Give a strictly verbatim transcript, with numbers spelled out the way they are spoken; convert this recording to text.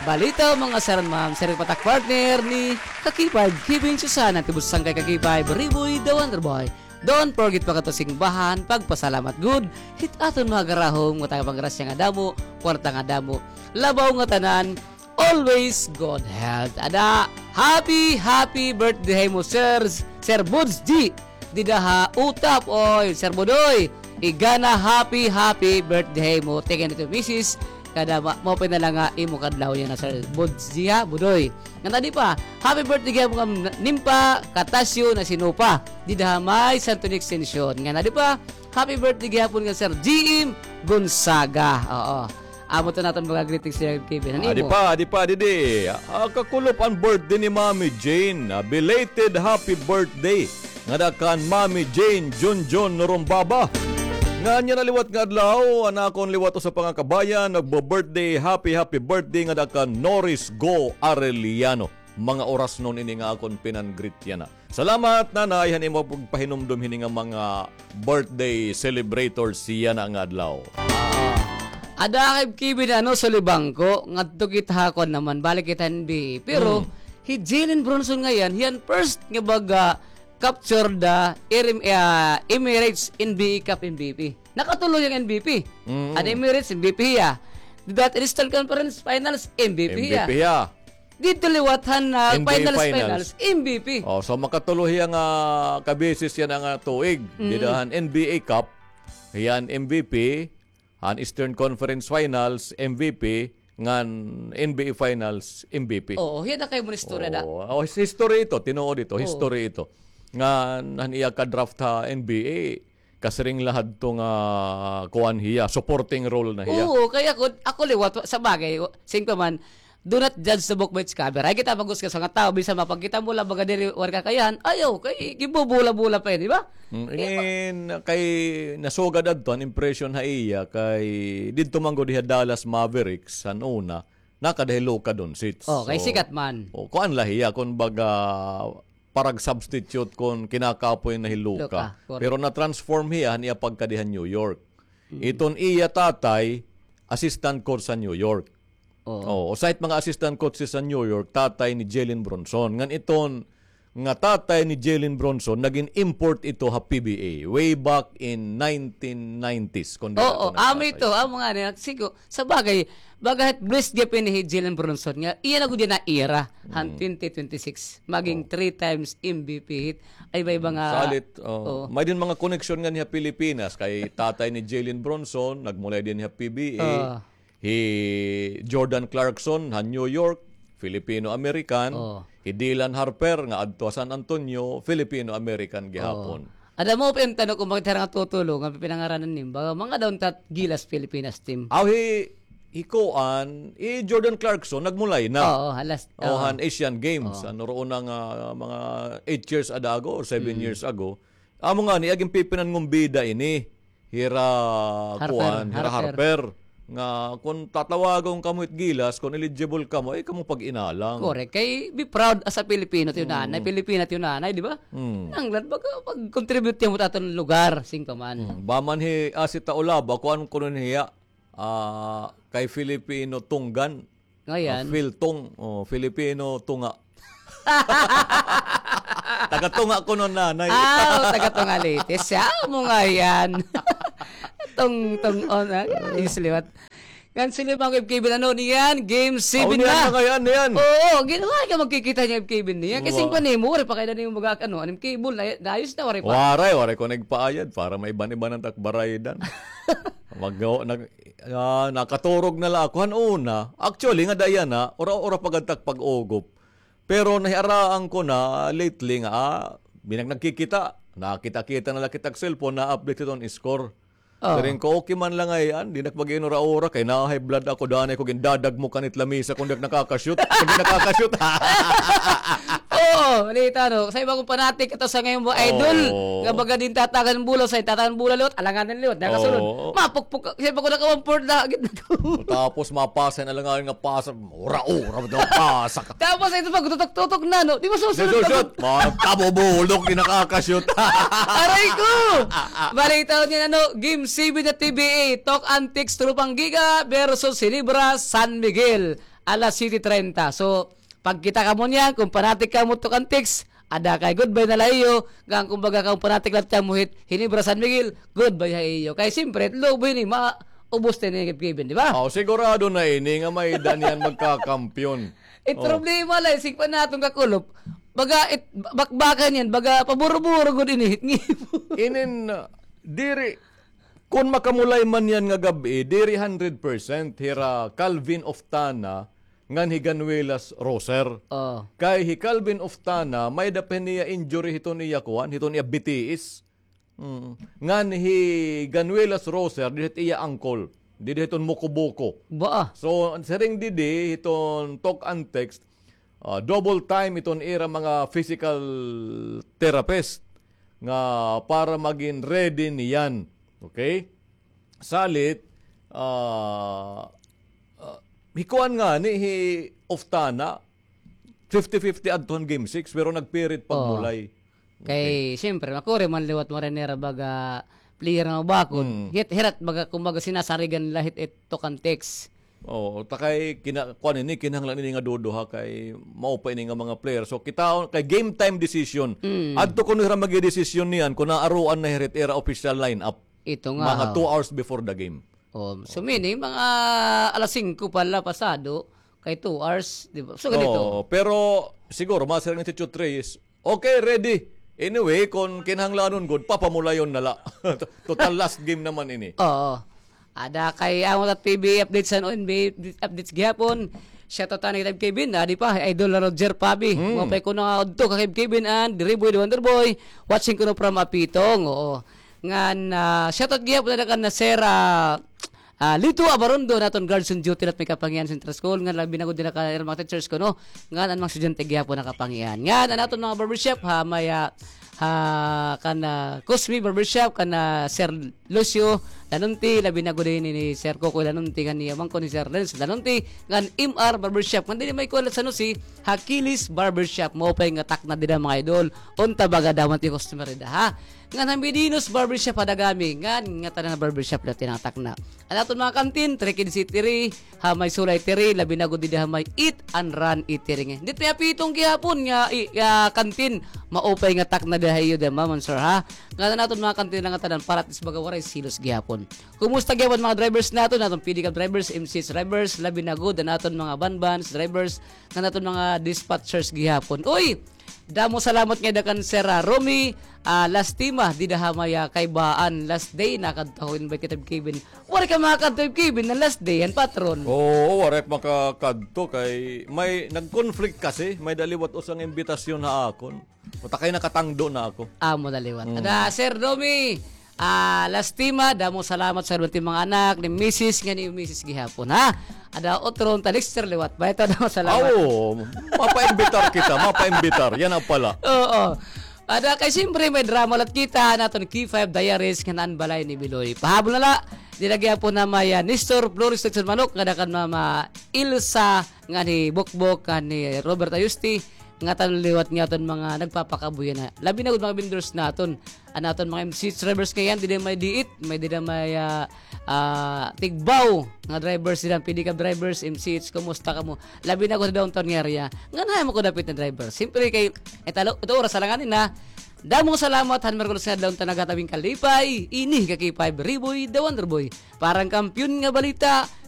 Balita, mga sir and ma'am, sir, patak partner ni Kakipay, Kevin Susana, tibus sangkay Kakipay, Beriboy, the Wonder Boy. Don't forget pa kato simbahan, pagpasalamat gud hit aton mga garahom, nga taga panggrasya nga damo, kwarta nga damo, labaw nga tanan, always good health. Ada, happy, happy birthday mo, Sir, Sir Buds G. Dida ha Utap, oy, Sir Budoy. Igana, happy, happy birthday mo. Tingin ito, misis. Kada ma-, mo pa na lang nga imo kadlaw yan na, Sir Buds G, ha, Budoy. Nga na di pa, happy birthday gihapon kan Nimpa Katasyo na sinupa. Dida ha may Santo Nick Extension. Nga na di pa, happy birthday gihapon kan Sir G M Gonzaga. Oo. Amo to naton mga greetings, Sir Kevin. Ano adi mo? Pa, adi pa, didi. Ah, kakulop an birthday ni Mami Jane. Ah, belated happy birthday ngada kan Mami Jane Junjun Norumbaba. Nga niya na liwat nga adlaw, an akon liwat usa pa nga kabayan, nagbo-birthday, happy, happy birthday ngada kan Norris Go Arellano. Mga oras nun ini nga akon pinan-greet yana. Salamat, Nanay, han imo pagpahinumdom hini nga mga birthday celebrators yana nga adlaw. Ah. Ada kay Kevin, ano, Sulibangko, ngadto kita ha kuan naman, balik kita N B A. Pero, hmm, hi Jalen Brunson ngay-an, hiya an first nga baga capture the Erim-, ah, Emirates N B A Cup M V P. Nakatulo hiya nga M V P. Mm. An Emirates, M V P hiya. That Eastern Conference Finals, M V P hiya. M V P hiya. Didto liwat han, ah, N B A finals, finals, finals, M V P. Oh, so makatulo hiya nga kabeses yana nga tuig. Mm. Dida han N B A Cup, hiya an M V P, han Eastern Conference Finals, M V P, ngan N B A Finals, M V P. Oo, hiya na kay mo istorya da. Oo, oh, his-, history ito, tinuod ito, oo, history ito. Ngan han iya ka-draft ha N B A, kasiring la hadto nga kuan hiya, supporting role na hiya. Oo, kay ako, ako liwat, sa bagay, singko man, do not judge the book by its cover. Ay, kita maghusga sa mga tawo, bisan mapagkita mo la, baga diri, waray kakayahan, ayaw, kay, gibubula-bula pa yan, di ba? Mm, kay, ingin, kay nasugad adto, an impression ha iya, kay, didto man gud hiya Dallas Mavericks, han una, nakada hi Luka Doncic. Oh, kay sikat man. Oh, kuan la hiya, kun baga, parag-substitute kun kinakapoy na hi Luka. Luka, correct. Pero na-transform hiya han iya pagkadi ha New York. Mm. Iton iya tatay, assistant coach sa New York. Oo. Oh, usa it mga assistant coaches sa New York, tatay ni Jalen Brunson. Ngan iton nga tatay ni Jalen Brunson, nagin import ito ha P B A way back in nineteen nineties, kun di ako nagkasala. Oo, amo ito, amo nga niya. Sigo, sa bagay, baga hit blessed gihapon hi Jalen Brunson nga, iya na gud yana era, han twenty twenty-six, maging three times M V P hit. Ay, iba-iba nga, salit, oh. Oo. May din mga koneksyon nga niya Pilipinas, kay tatay ni Jalen Brunson, nagmulay din niya P B A. Oo. Hi Jordan Clarkson, ha New York, Filipino-American. Oh. Hi Dylan Harper, nga adto ha San Antonio, Filipino-American gihapon. Oh. Ada mo pa yung tanong kung bakit harang tutulo nga pinangaranan nim, baga mga daw tat Gilas Pilipinas team. Aw, hi, hi kuan, hi Jordan Clarkson, nagmulay na. Oo, halas, oh, oo, han Asian Games. Oo. Ano roon na nga, mga eight years ada ago or seven years ago. Amo ngani, agin pipinan ngon bida ini. Hira, Harper, kuan, hira Harper. Harper. Nga, kun tatawagon kamo hit Gilas, kun eligible kamo, ay kamo pag-inalang. Correct. Kay, be proud as a Filipino, tiyo nanay. Mm. Filipina, tiyo nanay, di ba? Mm. Nanglad, pag, pag-contribute niya mo taton lugar, singko man. Mm. Baman hi Asi Taulaba, kuan kuno niya, ah, kay Filipino Tunggan. Ngayan. Ah, Phil Tung, oh, Filipino Tunga. Taga Tunga kuno nanay. Ah, taga Tunga Leyte. Siya mo ngayan. Tung, tung, on, ah, ayos liwat. Ngan sila mga F K B na, ano, niyan, game seven na. Oh, niyan na ngayan, niyan. Oo, ginawa ka magkikita niya F K B niya. Kasi yung panimo, waray pa kayo na yung mga, ano, anong cable, na, naayos na, waray pa. Waray, waray ko nagpaayad para may iban-iban ang takbaraydan. Mag-, nag-, Ah, nakaturog na la ako. Han una, actually, nga dayan na, ura-ura pa gad tak pag-ugop. Pero nahiaraan ko na lately nga, ah, binag nagkikita. Nakita-kita na la kita cellphone, na-update iton score. Oh. Siring ko, okay man la ngay-an, di na ak mag-inura-ura, kay na-high blood ako, danay ko gindadagmok han it lamisa, kun di ak nakaka-shoot, kun di nakaka-shoot. Oo, balita, no? Sa iba kong fanatic, ito sa ngayon mo, idol, nga baga din tatagan bulaw, sa tatagan bulaw liwat, alanganin liwat, nakasulod. Oo. Mapukpuk, siya pa ko naka-one-fourth na, gid na to. Tapos mapasa na lang nga pasa, ura-ura, daw pasa ka. Tapos ito pag tutok-tutok na, no? Di ba susunod? Di susunod. Magkabubulok, di nakaka-shoot. Aray ko! Balita niya, ano, Game seven na T B A, Talk Antics, Tropang Giga versus Silibra San Miguel. Alas siyete treinta. So, pagkita kamo niyan, kon panatik kamo Tok Antics, ada kay goodbye na la iyo, ngan kon baga kamo panatik la tiyan mo hit Hinebra San Miguel, goodbye ha iyo. Kay siyempre, it love ini, maubos na ini, Kevin, di ba? Oh, sigurado na ini nga may-ada niyan magkakampiyon. It problema la, isip pa naton kakulop, baga, it, bakbakan niyan, baga, paburo-buro gud ini, hit ngipon. Inin, uh, diri, Kon makamulay man yan nga gab-i, diri hundred percent hira Calvin Oftana ngan hi Ganuelas Roser. Oh. Kay hi Calvin Oftana, may-ada pa niya injury hiton iya kuan, hiton iya bitiis. Mm. Ngan hi Ganuelas Roser, diri hit iya ankle. Diri hiton mukubuko. Baa. So, siring didi, hiton Tok Antics, ah, double time iton ira mga physical therapist nga para magin ready niyan. Okay? Salit, ah, ah, hikuan ngani hi Oftana, fifty fifty adto han game six, pero nagpirit pagmulay. Kay, siyempre, makuri man liwat mo rin nira baga player nga mabakod. Hit, hirat baga, kumbaga, sinasarigan nila hit, it Tok Antics. Oo, ta kay kina-, kuan ini, kinahanglan ini nga duduha kay maupay ini nga mga player. So, kita, kay game time decision. Adto kuno hira magdedesisyon niyan kun naaruan na hira it ira official lineup. Ito nga, mga two hours before the game. Oh, so meaning, mga alas singko pa la pasado, kay two hours, di ba? So, ganito. Oo, pero siguro, mga siring ni Tito Trey is, okay, ready. Anyway, kon kinahanglanon gud, papamulayon na la. Total last game naman ini. Oo. Ada kay amo tat P B A updates and O N B A updates gihapon. Shoutout ani kay Kevin, adi pa, Idol Roger Pabi. Maupay kuno nga udto ka kay Kevin and Riboy the Wonder Boy. Watching kuno from Apitong, oo. Ngan, ah, shoutout gihapon na kan na Sir, ah, Ah, Lito Abarondo, an aton guards on duty la hit may Kapangian Central School, ngan labi na gud dida kan ira mga teachers kuno, ngan an mga estudyante gihapon ha Kapangian. Ngan an aton mga barbershop, ha, may, ah, ha, kan, ah, Cosme Barbershop, kan, ah, Sir Lucio Lanunti, labi na gud ini ni Sir Kokoy Lanunti, ngan ni amangko ni Sir Renz Lanunti, ngan M R Barbershop, ngan didi may kuan la sa San Jose, ha Kilis Barbershop, maupay nga takna dida mga idol, unta baga damo it customer dida, ha? Ngan ha Medinos Barbershop ha Dagami, ngan ngatanan nga barbershop la it ira takna. An aton mga kantin, Trick and City, ha, may Sulay Tiri, labi na gud dida ha may Eat and Run Eatery. Dida ha Apitong gihapon nga, i-, ah, kantin, maupay nga takna dida ha iyo dida, ma'am and sir, ha. Ngan an aton mga kantin la ngatanan, para at least baga waray selos gihapon. Kumusta gihapon mga drivers naton, aton pedicab drivers, M C H drivers, labi na gud an aton mga van vans drivers, ngan aton mga dispatchers gihapon. Uy, damo salamat ngada kan Sir, ah, Romy, ah, Lastima, dida ha may, ah, Kaibaan, last day, nakadto ako, invite kita, Kevin. Waray ka makakadto, Kevin, nga last day, an patron. Oo, waray makakadto kay may nag-conflict kasi, may-ada liwat usa nga imbitasyon ha akon. Uta kay nakatangdo na ako. Amo na liwat. Ada, Sir Romy, ah, Lastima, damo salamat sa mga anak ni misis ngan ni misis gihapon, ha? Ada otro, ta Dexter liwat. Ba ito, damo salamat. Awo, mapaimbitar kita, mapaimbitar. Yana pala. Oo. Ada kay siyempre may drama la hit kita, an aton K five Diaries, ngan an balay ni Biloy. Pahabol na la, dida gihapon ha may, ah, Nestor Flores Lechon Manok, ngada kan Mama Ilsa, ngan hi Bokbok, ngan hi Robert Ayusti, ngatanan liwat nga aton mga nagpapakabuhi na. Labi na gud mga vendors naton. An aton mga M C H drivers ngay-an, dida may D eight, may dida may, ah, ah, Tigbao, nga drivers dida, pedicab drivers, M C H, kumusta kamo? Labi na gud ha downtown nga area. Ngan hain man ko dapit nga driver. Siyempre kay, ito, ito oras, alangan nina. Damo nga salamat, han Miyerkules nga adlaw, unta naghatag hin kalipay, ini hi K five Riboy, the Wonder Boy. Para han Kampiyon nga Balita,